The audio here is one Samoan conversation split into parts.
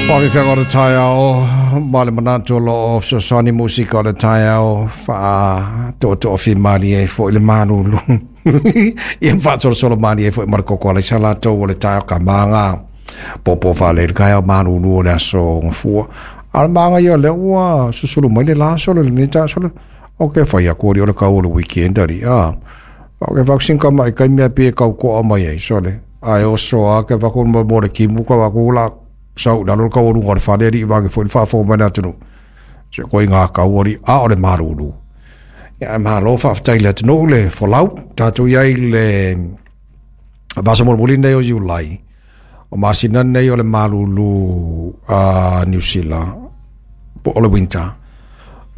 Faafefea o le taeao ma le manatu o loo fesoasoani musika o le taeao faatoatoafimalie ai foi le malulu ia faasolosolo malie ai foi ma le koko alaisa latou o le taeao kamaga popo faalei le taeao malulu o le aso Gafua. A o le magaia o lea ua susulu mai le la solo lenei taeao solo o ke fai atu ali o le kau o le weekend ali a o ke vaccine ka mai kai mea pie kau koa mai ai sole ae oso a ke vaku mo le kimu ka vaku la sau lalo le kau o luga o le fale alii vage foi le faafofoga mai le atunuu se koe ngā kau ali a o le malulu. Ia ae malo faafetai i le atunuu le folau tatou i ai i le vasa mulimuli nei o Iulai o masina nei o le malulu a Niu Sila po o le winter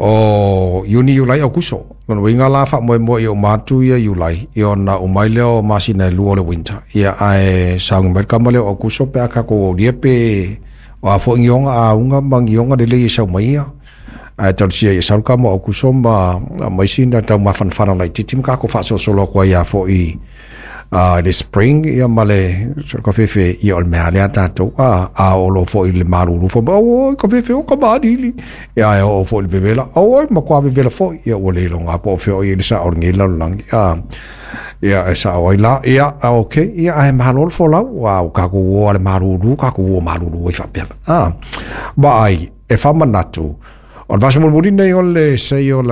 o Iuni, Iulai, Aukuso. Lona uiga la faamoemoe ia uma atu ia Iulai, ia ona uma ai lea o masina e lua o le winter. Ia ae sauni mai le kama lea o Aukuso pe a tatou aulia pe o a foi gioga auga ma gioga lelei e sau mai ia. Ae talosia ia sau le kama o Aukuso ma ma isi na taumafanafana laitiiti ma tatou faasolosolo atu ai lava foi i le spring ia ma le kafefe ia o le mea lea tatou a oo loa foi i le malulu fai mai oi kafefe o kamaliili ia ae oo foi i le vevela oi matua vevela foi ia ua le iloga po o fea o i ai le sao o lenei lalolagi ia e sao ai la ia okay ia ae malo le folau ua tatou o a le malulu tatou o malulu ai faapea vaai e faamanatu o le vaiaso mulimuli nei o le sei o la